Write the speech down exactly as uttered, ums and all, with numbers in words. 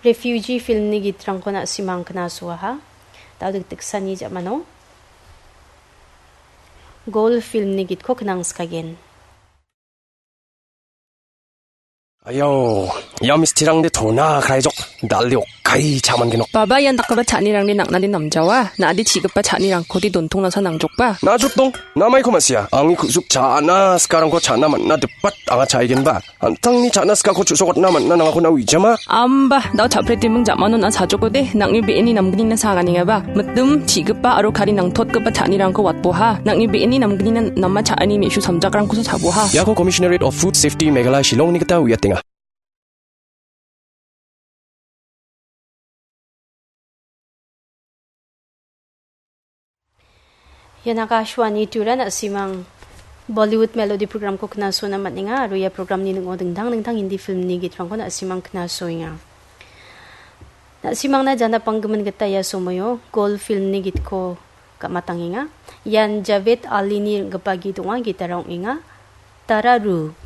Refugee filmni gitrangko na·simang knasoaha. Dal dikdiksani ja·mano Gol filmni gitko knangskagen. Ayo, ia mistirangde tona kraijok, dalde okkai chaman genok. Baba, ian dakgipa cha·anirangde nang·nade namjawa, na·ade chi·gipa cha·anirangkode dontongnasa nangjokba. Najotdong, namaiko ma·sia, angni ku·sup cha·na sikarangko cha·na man·na dipat anga cha·egenba. An·tangni cha·na sikako chu·sokatna man·na nangako na uijama. Amba, dao cha·pretiming ja·mano na·a chajokode, nang·ni be·eni namgnina saganengaba. Mitim, chi·gipa aro kari nangtotgipa cha·anirangko watboha. Nang·ni be·eni namgnina nama cha·ani me·su samjakrangkosa chaboha. Iako Commissionerate of Food Safety Meghalaya Shillongni gita uiatenga. Ian Akashvani Tura, na·simang Bollywood Melody programko knasona man·enga aro ia programni ning·o dingtang dingtang Hindi filmni gitrangko na·simang knasoenga. Na·simangna jana panggimin gita ia somoio Gol filmni gitko gam·atangenga. Ian Javed Alini ring·gipa git ong·a, gitara ong·enga Tararu.